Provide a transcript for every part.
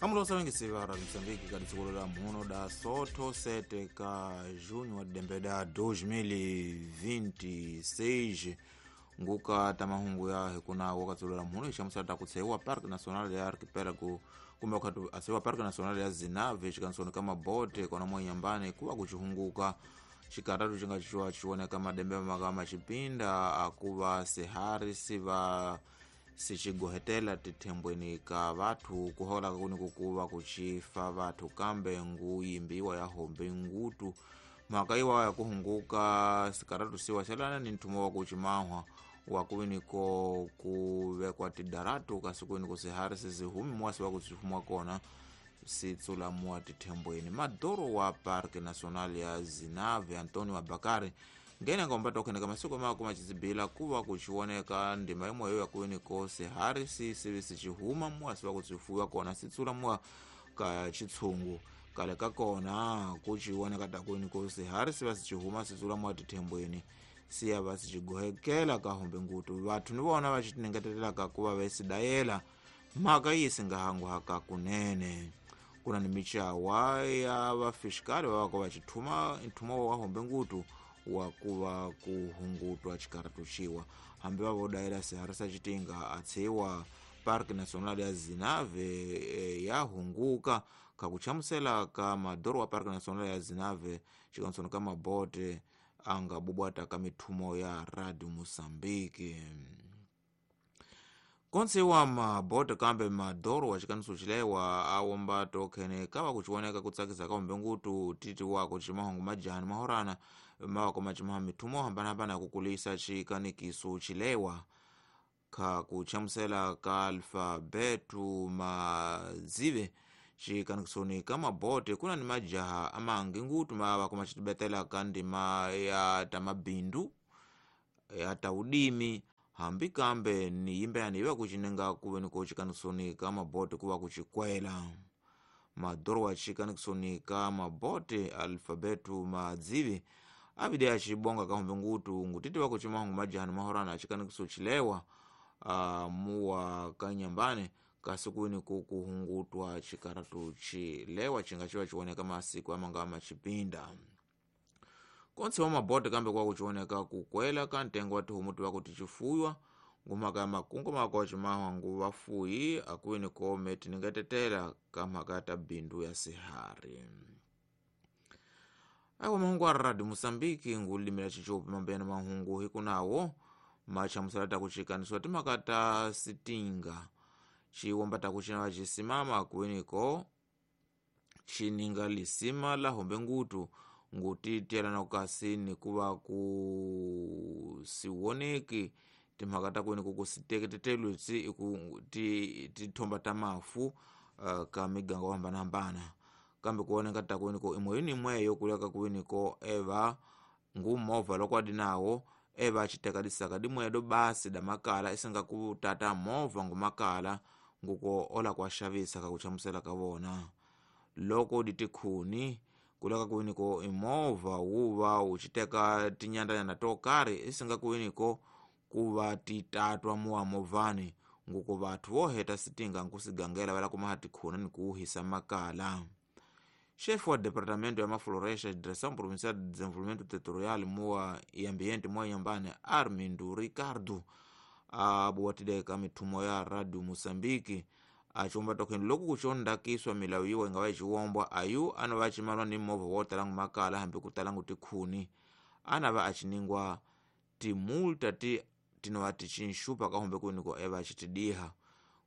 Amulosa wengi siva ra Mozambique ka dziko la muno da Soto 7 ka junho wa dembeda 2026 nguka tamahungu ya hikunawo ka dziko la muno ixamusela ta kutseiwa Parque Nacional ya Arquipélago kumbe wakhati asewa Parque Nacional ya Zinave xikansoni ka mabote kona mwanyambani kuva kucihunguka xikaratu xi nga xiwa xioneka madembe maka maxipinda akuva sihari siva sicigohetela tithembweni ka vathu kuholaka kuni kukuva kucifa vathu kambe nguyimbiwa ya hombe ngutu mhaka iwa ya kuhunguka sikaratu siwa xelana ni nthumo wa kucimahwa wa kuviniko kuvekwa tidaratu kasi kuviniko sihari sisihumi muwasi wa kucifumwa kona sitsulamuwa tithembweni. Madoro wa Parque Nacional ya Zinave Antonio Abakari ngene ngomba tokheneka masiku mako macizibila kuva kucioneka ndima imweyo yakuviniko sihari sisivi sicihuma muwasi wa kucifuwa kona sitsulamuwa ka chitshungu kale ka kona kucioneka takuviniko sihari siva sicihuma sitsulamuwa tithembweni siya va sicigohekela ka hombe ngutu vathu ni vona va citinengetelelaka kuva vesidayela mhaka yi singahanguhaka kunene. Kuna ni michawa ya vafiskali va va va nthumo wa hombe ngutu wa kuva kuhungutwa xikaratu xiwa hambi va vodayela sihari sa xitinga atshiwa Parque Nacional ya Zinave ya hunguka ka kuchamusela ka madoro wa Parque Nacional ya Zinave xikansoni ka mabote anga bubwata ka mithumo ya Radio Mozambique. Konse wa mabote kambe madoro wa xikaniso xilewa awomba tokhene kava kucioneka kutsakisa ka hombe ngutu titi wako cimahungu majani mahorana mawako macimaha mithumo hambanahambana ya kukulisa xikanikiso xilewa ka kuchamusela ka alfabetu mazive xikanikisoni ka mabote kuna ni majaha amangi ngutu mawako macitibetela ka ndima ya tamabindu ya taudimi hambi kambe ni yimbeyani iva kucinenga kuve niko xikanikisoni ka mabote kuva kucikwela. Madoro wa xikanikisoni ka mabote alfabetu madzivi avide acibonga ka hombe ngutu ngutiti wa kucimahungu majani mahorana acikanikiso cilewa muwa kanyambane kasi kuini kukuhungutwa xikaratu cilewa cinga civa cioneka masiku amanga macipinda. Konse wa mabote kambe kwa kucioneka kukwela ka ntengo wa tihomu tiva kuti cifuywa ngumhaka ya makungu mako wa cimahwa ngu vafuyi akuini kome tiningetetela ka mhaka ya tabindu ya sihari. Awa mahungu a Radio Mozambique ngulimila cicopi mambeyana mahungu hikunawo machamusela takucikanisiwa timhaka ta sitinga ciwomba takucina vacisimama kuiniko cininga lisima la hombe ngutu ngutitiyelana kasi nikuva kusiwoneki timhaka ta kuiniko kusiteketetelwitsi iku tithomba ta mafu ka miganga yo hambanahambana kambe kuoneka ta kuiniko imwe imweyo kuleka kuiniko eva ngumovha loko adi nawo eva aciteka disaka dimwedo basi da makala isinga kutata movha ngumakala nguko ola kuaxavisa ka kuchamusela ka vona loko ditikhuni kuleka kuiniko imovha wuva uciteka tinyandanyana to karhi isinga kuiniko kuva titatwa muwa movhani nguko vathu voheta sitinga nkusigangela vala kumaha tikhuna ni kuuhisa makala. Chefe wa departamento ya mafloresta Direção Provincial de Desenvolvimento Territorial muwa e Ambiente muwa Inhambane Armindo Ricardo abuwatile ka mithumo ya Radio Mozambique aciwomba tokheni loku kucondakiswa milawu yiwa ingawa iciwombwa ayu anava acimalwa ni movha wotalangu makala hambi kutalangu tikhuni anava aciningwa timulta tinova ticinxupa ka hombe kuiniko eva acitidiha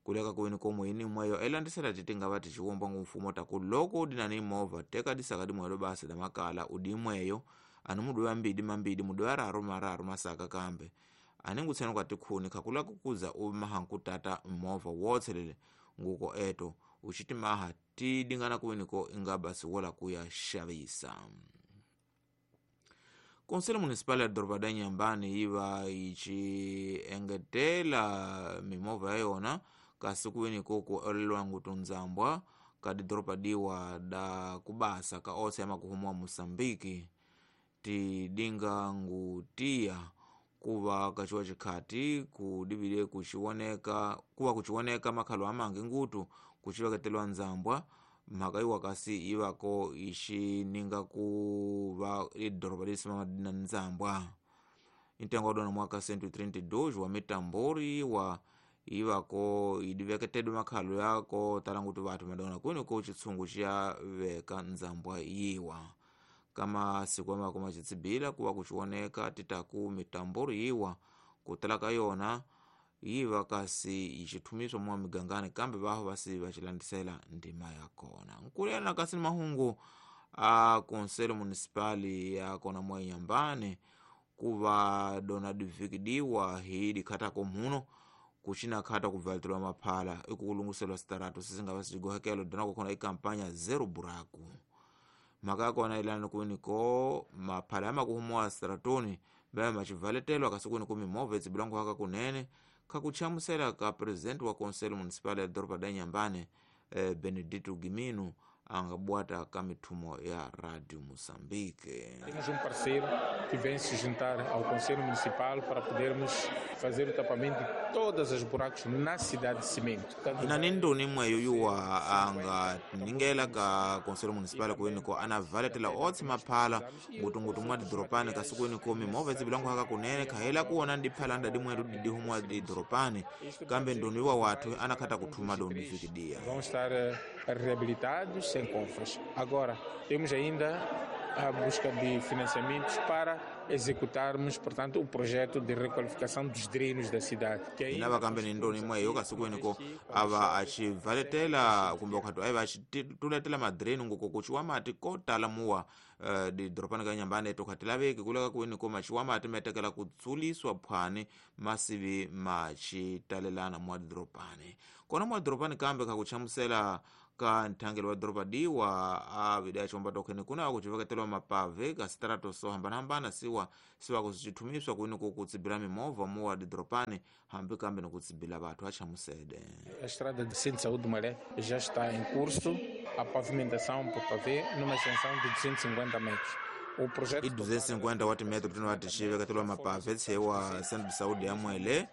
kuleka kuiniko mwini mweyo elandisela titingava ticiwombwa ngumfumo taku loko udinani movha teka disaka dimwelo basi da makala udimweyo ani mudu ambidi mambidi mudu araru mararu masaka kambe aningutsena kwa tikhuni khakula kukuza umaha nkutata movha wotselele nguko eto ucitimaha tidingana kuiniko ingabasi wola kuya xavisa. Conselho Municipal ya doroba da Inhambane yiva iciengetela mimovha ya yona kasi kuiniko kuolelwa ngutu nzambwa ka didoropa diwa da kubasa ka onse ya makuhumwa Moçambique tidinga ngutiya Kuva kachiwa chikhati kudivile kuchiwoneka kuva kuchiwoneka makhalo amangi ngutu kuchiveketelwa nzambwa mhaka iwa kasi ivako ixininga kuva idoroba lisimama na nzambwa. Ntengo wa dona mwaka 132 wa mitambori iwa ivako idiveketedwe makhalo yako tala ngutu vathu madona kwini ko chitsungu chiyaveka nzambwa yiwa. Kama siku amako machitsibila kuva kuchiwoneka titaku mitambori yiwa kutala ka yona yiva kasi ichithumiswa mwa migangani kambe vaho vasi vachilandisela ndima yakona. Nkulena kasi ni mahungu a konselo municipali yakona mwa Inhambane kuva dona divikidiwa hi dikhatako muno kuchina khata kubvalitelwa maphala ikukulunguselwa sitarato sisingava sichigohekelo dona kukhona ikampanya zero buraku. Mhaka yakona ilani kuniko maphala yamakuhumuwa sitaratoni baya machivaletelwa kasi kuniko mimovha itsibilangu haka kunene khakuchamusela ka presidente wa conselho municipal ya doroba da Inhambane Benedito Gimino angabwata ka mithumo ya Radio Moçambique. Temos parceiro que vem se juntar ao Conselho Municipal para podermos fazer o tapamento de todas as buracos na cidade de cimento. Ina ni ndoni mweyo yuwa anga ningela ka Conselho Municipal kuiniko anavaletela otsi maphala ngutungutu mwa didoropani kasi kuiniko mimovha itsibilangu haka kunene khahela kuona ndiphala ndadi mwetu didihumwa didoropani kambe ndoni yuwa wathu anakhata kuthuma doni vikidia. Vão estar reabilitados sem compras. Agora, temos ainda a busca de financiamentos para executarmos, portanto, o projeto de requalificação dos drenos da cidade. Inava kambe ni ndoni mweyo kasukwiniko ava achivaletela kumbe ukhatu aiva achituletela madreno ngoko kuchiwa mati kotala muwa didoropani ka Inhambane tokhatilaveki kuleka kuiniko machiwa mati metekela kutsuliswa phwani masivi machitalelana mwa didoropani. Kona mwa didoropani kambe khakuchamusela ka nthangelo wa doroba diwa avida chomba tokhene kuna kuchiveketelwa mapave ka sitarato so hambanahambana siwa kusichithumiswa kuiniko kutsibila mimovha muwa didoropani hambi kambe nikutsibila vathu achamusede. A estrada de Centro de Saúde do Maré já está em curso, a pavimentação por pavé numa extensão de 250 metros. O projeto i 250 wa timetro tino atixiveketelwa mapave tshewa Centro de Saúde ya Mwele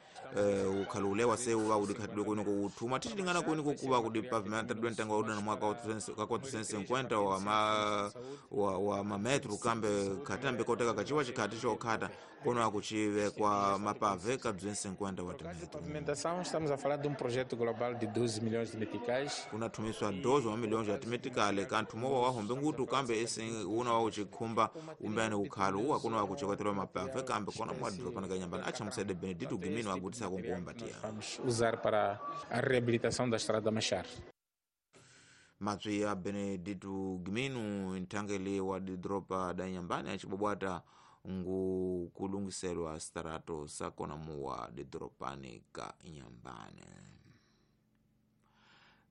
ukhalule wase uva udikhatidwe kuiniko uthuma tichilingana kuiniko kuva kudipavimentadwe ntengo wa udana mwaka wa 450 wa mametro kambe khatambe koteka kachiwa chikhati chokhata kono akuchivekwa mapave ka 250 wa timetro. Pavimentação, estamos a falar de projeto global de 12 milhões de meticais. Kunathumiswa 12 wa milhões ya timetikale kanthumowa wahombe ngutu kambe esi una wa uchikhumba umbene ukhalu uwa kuno akuchekwetelwa mapave kambe kona mwadhiropani ka Inhambane achamusede Benedito Gimino agutisa kunkuombatia. Vamos usar para a reabilitação da estrada Machar. Matswi ya Benedito Gimino nthangeli wa didropa da Inhambane achibwabwata ngu kulungiselwa sitarato sakona muwa didoropani ka Inhambane.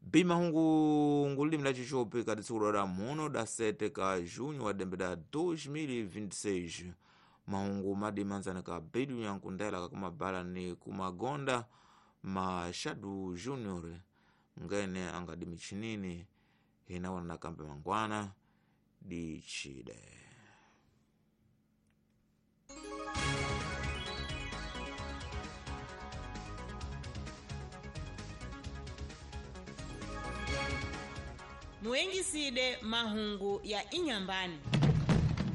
Bimahungu ngulimi la chichopi ka tsiku la muno da 7 ka junho wa dembe da 2026. Mahungu madimanzana ka bedu yankundela kakumabala ni kumagonda Machado Junior ngene angadi michinini hinawana na kambe mangwana dichide. Muengiside mahungu ya Inhambane.